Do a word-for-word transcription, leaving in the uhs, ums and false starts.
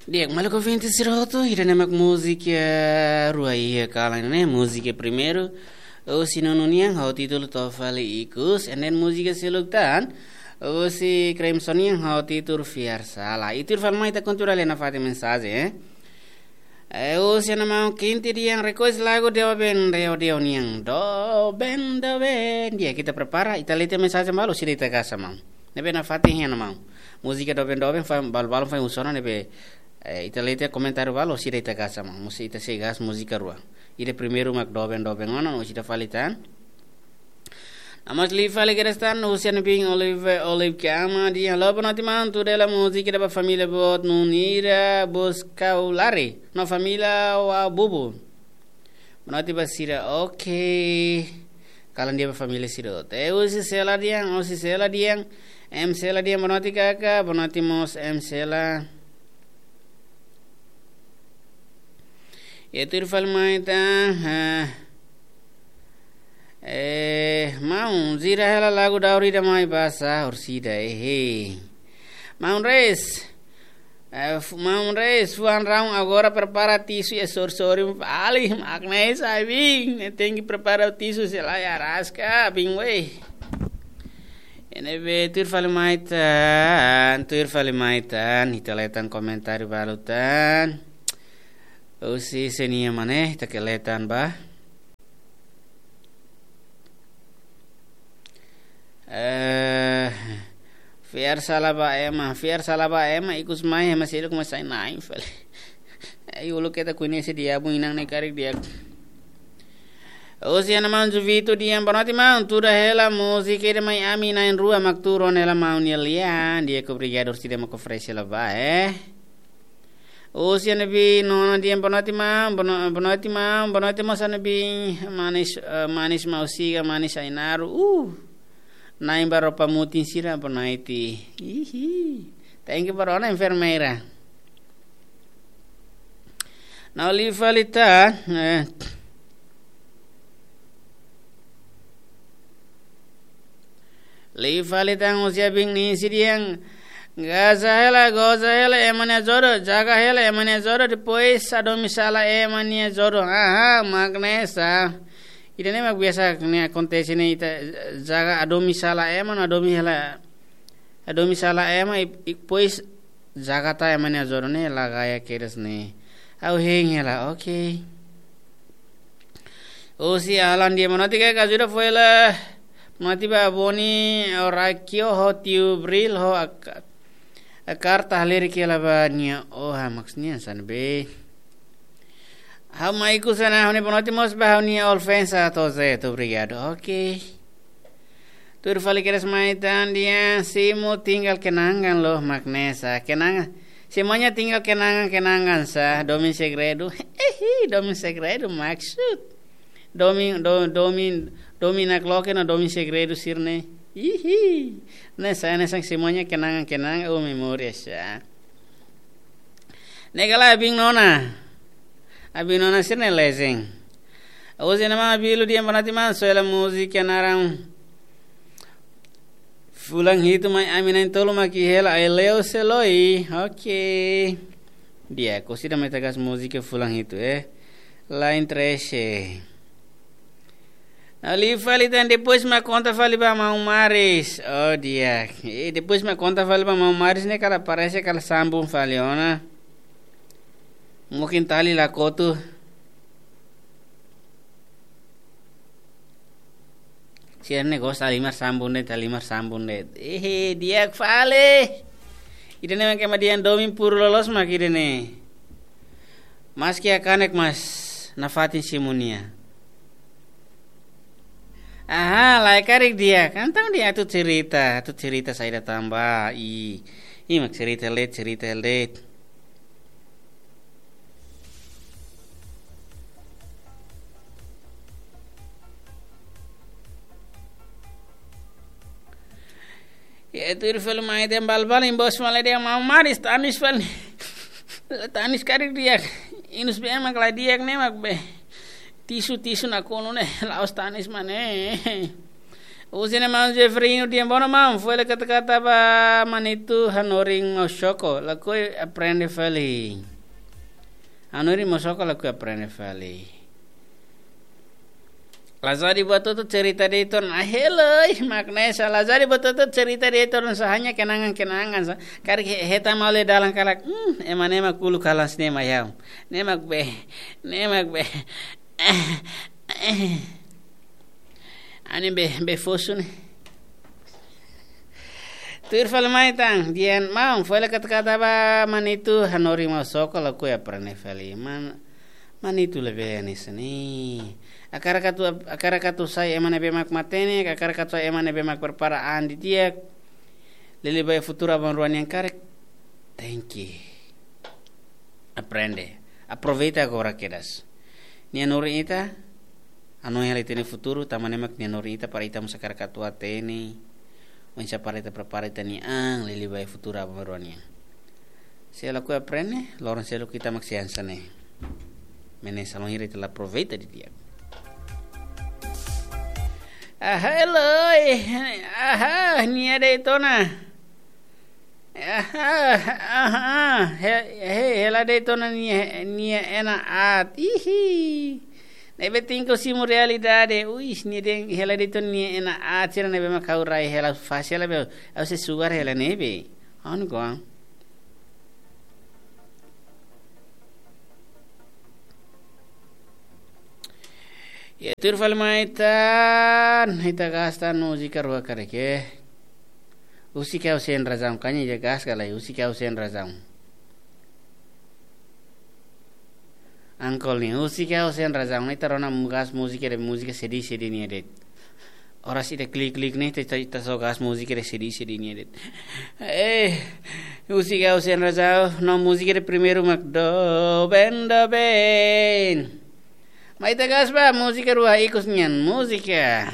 Di'ak, maluk ouvinte sira hotu, ida-ne'e mak múzika rua iha kalan ne'e, múzika primeiru, husi Nunu nian, ho títulu To'o Fali Ikus, and then múzika seluk tan, husi Crimson nian, ho títulu Fiar Sala. I tuir fali mai ita kontinua lee nafatin mensajen, eh. Eh, husi ana maun Kinti Dian request lagu Doben Deo Deo nian. Doben, doben. Di'ak, ita prepara, ita lee tiha mensajen balu, sira ita gasa maun. Ne'ebé nafatin iha ana maun. Múzika Doben Doben, fa, balu-balu fai unsona ne'ebé, eh, ita lee tiha komentáriu balu, sira ita gasa maun. Múzika ita sei gasa múzika rua. Ida primeiru mak Doben Doben ona, no ida fali tan. Amas li fali kedas tan, husi ana biin Olive, Olive Kiama, dehan: Halo, boa noite maun, tuir hela múzika ida ba família boot Nunira Boscaulari, no família Wa Bubu. Boa noite ba sira, ok. Kalan di'ak ba família sira hotu. Eh, husi Sela Dian, husi Sela Dian. M Sela Dian, boa noite kaka, boa noite mós M Sela. I tuir fali mai tan, eh, eh, maun, jira hela lagu daur ida mai ba sá, orsida, eh, eh. Maun Reis, eh, fu-, maun Reis, fuan raun agora prepara tisu i sorsori fali, mak ne'e sá biin, ne'e tenke prepara tisu, se lae araska, biin wei. Ne'ebé tuir fali mai tan, tuir fali mai tan, ita lee tan komentáriu balu tan. Husi Senia Mane, ita ke lee tan ba. Eh, Fiar Sala ba ema, Fiar Sala ba ema, ikus mai, ema sira kuma sai na'in fali. Ai, uluk ita koñese diabu inan ne'e karik di'ak. Husi ana maun Juvito dehan: Boa noite maun, tuda hela múzika ida mai ami na'in-rua mak tuur ona hela maun nia lian. Di'ak, obrigadu, orsida mak oferese hela ba, eh. Husi ana biin Nona dehan: Boa noite maun, boa no-, boa noite maun, boa noite mós ana biin Manis, eh, Manis Mausiga, Manis Ainaru. Uh, na'in ba roupa mutin sira, boa noite. Ihi. Thank you ba rona, enfermeira. No li fali tan, eh. Li fali tan husi Abing Nisi dehan: Gaza hela, goza hela, ema nia jodoh, jaga hela, ema nia jodoh, depois hadomi sala ema nia jodoh. Aha, mak ne'e sá. Ida-ne'e mak biasa ne'e akontese ne'e, ita jaga, hadomi sala ema, no hadomi hela, hadomi sala ema, i, i, depois jaga tan ema nia jodoh ne'e, la gaya kedas ne'e. Ha'u hein hela, ok. Husi Alan dehan: Boa noite kaka, ajuda fó hela. Boa noite ba Boni, Orakio, ho tiu Bril, ho ak-, akar ta leri ke la ba nia, oh, ha, maksudnya san be. Ha'u mai ikus ona, ha'u-nia boa noite mós ba ha'u-nia old friends, ah, toze, obrigadu. Ok. Tuir fali kedas mai tan dehan: Simu tinggal kenangan loh, mak ne'e sá. Kenangan. Semuanya tinggal kenangan, kenangan sá. Domin segredu. Ehi, domin segredu maksud. Domin, do-, domin, domin nakloke no domin segredu sira-ne'e. Ihi. Ne'e sá, ne'e sá semuanya kenangan, kenangan, oh, memória sá. Ne'e kala Abing Nona. Abing Nona sira-ne'e lezing. Husi ana maun Abilu dehan: Boa noite maun, soe hela múzika naran Fulan Hitu mai ami na'in-tolu mak iha hela, ai leu seloi. Ok. Di'ak, orsida mai ita gasa múzika Fulan Hitu, eh. Lain trese. No li fali tan, depois mak konta fali ba maun Maris. Oh, di'ak. Eh, depois mak konta fali ba maun Maris ne'e kala parese kala sambung fali ona. Mungkin tali la kotu. Sira-ne'e gosta halimar sambung de'it, halimar sambung de'it. Ehe, di'ak fali. Ida-ne'e mak ema dehan domin puru loloos mak ida-ne'e. Maski hakanek mas nafatin simu nia. Aha, lae karik di'ak. Entaun di'ak, atu cerita, atu cerita saida tan ba. I, i mak cerita de'it, cerita de'it. Ya, tuir fali mai dehan balu-balu inbox fali dehan maun Maris, tanis fali. Tanis karik di'ak. Inus be mak la di'ak ne'e mak be. Tisu, tisu nakonu ne'e, la'ós tanis mak ne'e. Husi ne'e maun Jeffrey Inu, di'ak, bono maun, foin hela kata-kata ba Manitu, hanorin Mosoko, lakohi aprende fali. Hanorin Mosoko, lakohi aprende fali. Lazari buat hotu cerita de'it ona, ah, heloi, mak ne'e sá, lazari buat hotu cerita de'it ona sá, hanya kenangan-kenangan sá. Karik he-, hetan malu iha dalan karik, hmm, ema ne'e mak uluk kalan sá ne'e mak ha'u. Ne'e mak be, ne'e mak be. Ha'u-nia be, be fosu ne'e. Tuir fali mai tan, di'ak maun, foin hela kata-kata ba Manitu, hanorin Mosoko, lakohi aprende fali. Man, Manitu labele hanesan ne'e. Hakarak atu, hakarak atu sai ema ne'ebé mak matenek, hakarak atu sai ema ne'ebé mak prepara an didi'ak. Liuliu ba iha futuru aban-bainrua nian karik. Tenke aprende. Aproveita agora kedas. Nia hanorin ita, hanoin hela ita-nia futuru, tanba ne'e mak nia hanorin ita para ita mós hakarak atu hatene. Oinsá para ita prepara ita-nia an, liuliu ba iha futuru aban-bainrua nian. Se lakohi aprende, loron seluk ita mak sei hanesan ne'e. Mak ne'e sá, loron hira ita la aproveita didi'ak. Aha, heloi. Aha, nia de'it ona. Aha, aha. He, he, hela de'it ona nia, nia ena aat. Ihi. Ne'ebé tenke simu realidade. Uis, nia dehan hela de'it ona nia ena aat. Sira ne'ebé mak ha'u rai hela fase hela be. Ha'u sei sugar hela ne'ebé. Ha'u-nia oan. Ya, tuir fali mai tan, ita gasta múzika rua karik. Husik ha'u sein razaun, kanya je gas galai, husik ha'u sein razaun. Angkol ne'e, husik ha'u sein razaun, ita rona mu gas múzika de'it, múzika sedih-sedih nia de'it. Oras ida klik-klik ne'e, ita, ita, ita só gas múzika de'it sedih-sedih nia de'it. Eh, husik ha'u sein razaun, no múzika de'it primeiru mak doben, doben. Mai ita gas ba, múzika rua ikus nian, múzika.